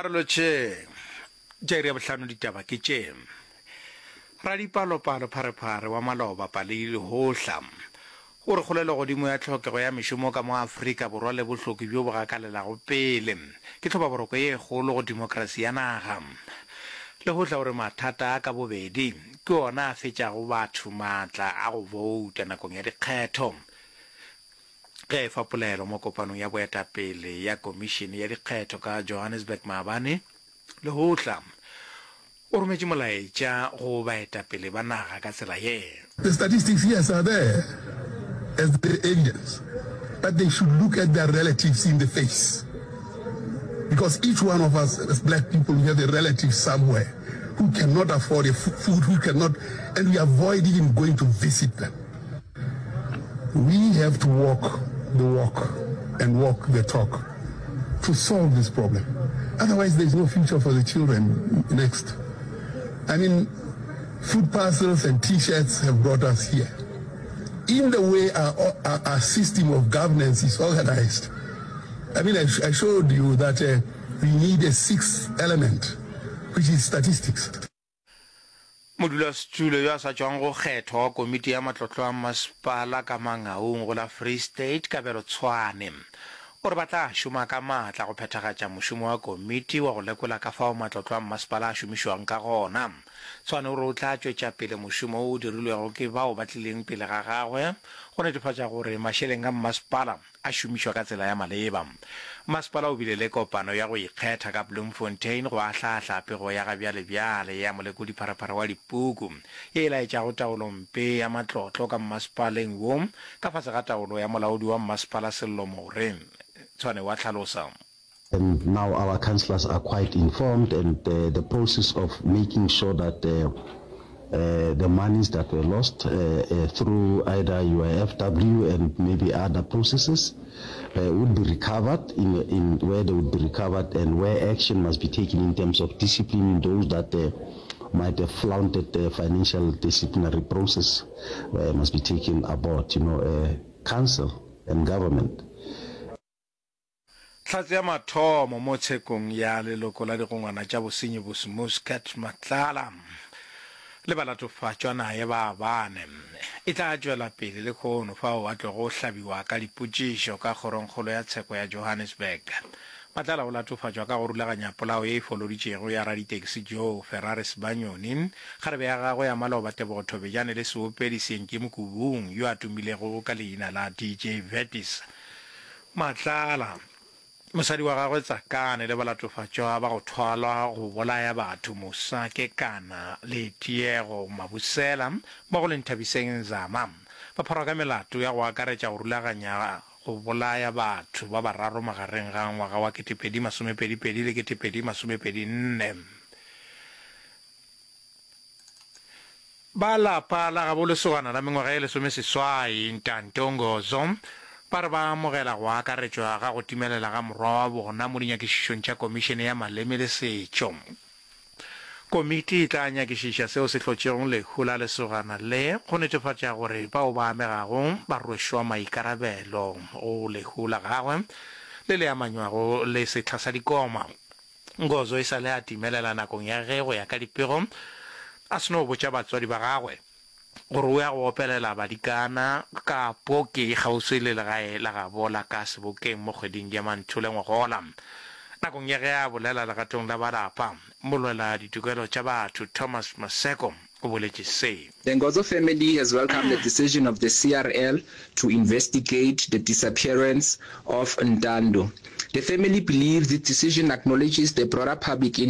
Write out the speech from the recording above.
A re lotšheng. Tša iri ya bohlano ditaba ke tše. Radipalopalo pharephare wa maloba Palei Lehohla o re kgolelogodimo ya tlhokego ya mešomo ka mo Afrika Borwa le bohloki bjo bo gakalelago pele ke tlhobaboroko ye kgolo go demokrasi ya naga. Lehohla o re mathata a ka bobedi ke ona a fetšago batho maatla a go bouta nakong ya dikgetho. Ge a efa polelo mo kopanong ya boetapele ya Komišene ya Dikgetho ka Johannesburg maabane, Lehohla o rometše molaetša go baetapele ba naga ka tsela ye. The statistics, yes, are there as the evidence, but they should look at their relatives in the face because each one of us as black people, we have a relative somewhere who cannot afford a food, who cannot, and we avoid even going to visit them. We have to walk the walk and walk the talk to solve this problem. Otherwise, there's no future for the children next. I mean, food parcels and t-shirts have brought us here. In the way our, our, our system of governance is organized, I mean, I, I showed you that uh, we need a sixth element, which is statistics. Modulasetulo yo a sa tšwang go kgethwa wa komiti ya matlotlo a mmasepala ka Mangaung go la Free State, Kabelo Tshwane, o re ba tla šoma ka maatla go phethagatša mošomo wa komiti wa go lekola ka fao matlotlo a mmasepala a šomišwang ka gona. Tshwane o re o tla tšwetša pele mošomo wo o dirilwego ke bao ba tlileng pele ga gagwe go netefatša gore mašeleng a mmasepala a šomišwa ka tsela ya maleba. Masepala o bile le kopano ya go ikgetha ka Bloemfontein go ahlaahla pego ya gabjalebjale ya molekodi-pharephare wa dipuku ye e laetšago taolompe ya matlotlo ka mmasepaleng wo ka fase ga taolo ya molaodi wa mmasepala Sello More. Tshwane wa hlalosa. And now our councillors are quite informed and the process of making sure that the monies that were lost through either UIFW and maybe other processes would be recovered in, in where they would be recovered and where action must be taken in terms of disciplining those that might have flaunted the financial disciplinary process must be taken aboard, you know, council and government. Hlatse ya mathomo mo tshekong ya leloko la digongwana tša bosenyi Bosmuscat Matlala le balatofatšwa naye ba bane e tla tšwela pele lehono fao a tlogo hlabiwa ka dipotšišo ka kgorongkgolo ya tsheko ya Johannesburg. Matlala o latofatšwa ka go rulaganya polao ye e foloditšego ya raditekisi Joe Ferrari Sibanyoni, kgarebe ya gagwe ya maloba Tebogo Thobejane le seopedi Senki Mokubung yo a tumilego ka leina la DJ Vertis. Matlala, mosadi wa gagwe Tsakane le balatofatšwa ba go thwalwa go bolaya batho Musa Kekana le Tiego Mabusela mmogo le Nthabiseng Nzama ba pharwa ka melato ya go akaretša go rulaganya go bolaya batho ba bararo magareng ga ngwaga wa 2022 le 2024. Ba lapa la gabo lesogana la mengwaga ye lesomeseswai, Ntanto Ngozo, ba re ba amogela go akaretšwa ga go timelela ga morwa wa bona mo dinyakišišong tša Komišene ya Maleme le Setšo. Komiti e tla nyakišiša seo se hlotšego lehu la lesogana le go netefatša gore bao ba amegago ba rwešwa maikarabelo go lehu la gagwe le le amanywago le sehla sa dikoma. Ngozo e sa le a timelela nakong ya ge go ya ka dipego a se no botša batswadi ba gagwe gore o ya go opelela badikana ka poki kgauswi le legae la gabo la ka Sebokeng mo kgweding ya Manthole ngogola. Nakong ya ge a bolela legatong la ba lapa, molwela ditokelo tša batho Thomas Maseko o boletše se. The Ngozo family has welcomed the decision of the CRL to investigate the disappearance of Ntando. The family believes this decision acknowledges the broader public.